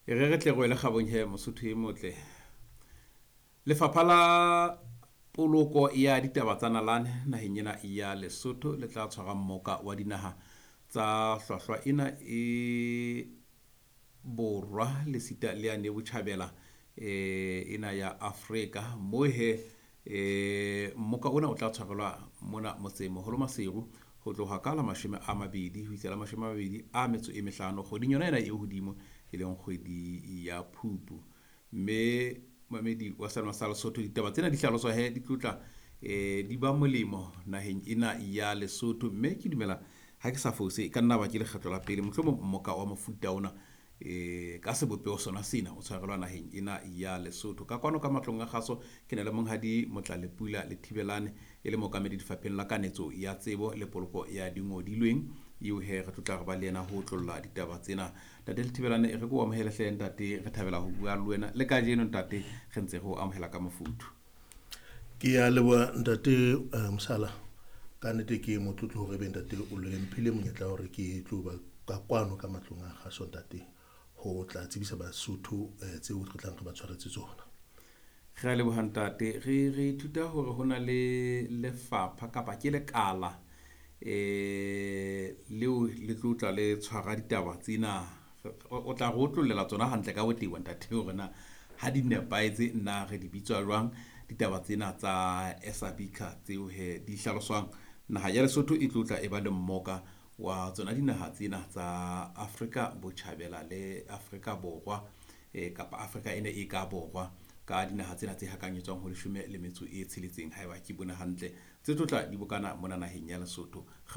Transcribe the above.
E re re tle re wele kgabong he, Mosotho e motle. Lefapha la poloko ya ditaba tsa nalane naheng ena ya Lesotho le tla tshwara mmoka wa dinaha tsa hlwahlwa ena e borwa le sita le yane botjhabela ena ya Afrika. Mo he mmoka ona o tla tshwarelwa mona motseng moholo Maseru ho tloha ka la 20 ho isa la 25 kgweding yona ena e hodimo, e leng kgwedi ya Phupu. Mme mamedi wa Selma sa Lesotho, ditaba tsena di hlaloswa he di tlotla di ba molemo naheng ena ya Lesotho. Mme ke dumela ha ke sa fose, e ka nna ba ke lekgetlo la pele mohlomong mmoka wa mofuta ona ka sebopeho sona sena o tshwarelwa naheng ena ya Lesotho. Ka kwano ka matlong a kgaso ke na le monghadi Motlalepula Lethibelane, e le mookamedi lefapheng la kanetso ya tsebo le poloko ya dingodilweng, eo he re tlotla re ba le yena ho otlolla ditaba tsena. Ntate Lethibelane, e re ke o amohele hle ntate, re thabela ho bua le wena le kajeno ntate, re ntse re o amohela ka mofuthu. Ke a leboha ntate Mosala. Ka nnete ke motlotlo hore ebe ntate o le mphile monyetla hore ke tlo ba ka kwano ka matlong a kgaso ntate, ho tla tsebisa Basotho tseo re tlang re ba tshwaretse tsona. Re a leboha ntate. Re ithuta hore ho na le lefapha kapa ke lekala leo le tlo tla le tshwara ditaba tsena. O tla re otlollela tsona hantle ka botebo ntate, hore na ha di nepahetse na re di bitswa jwang ditaba tsena tsa SABICA tseo he di hlaloswang. Naha ya Lesotho e tlo tla e ba le mmoka wa tsona dinaha tsena tsa Afrika Botjhabela le Afrika Borwa, kapa Afrika ena e ka borwa, ka dinaha tsena tse hakanyetswang ho 16 haeba ke bone hantle, tse tlo tla di bokana mona naheng ya Lesotho.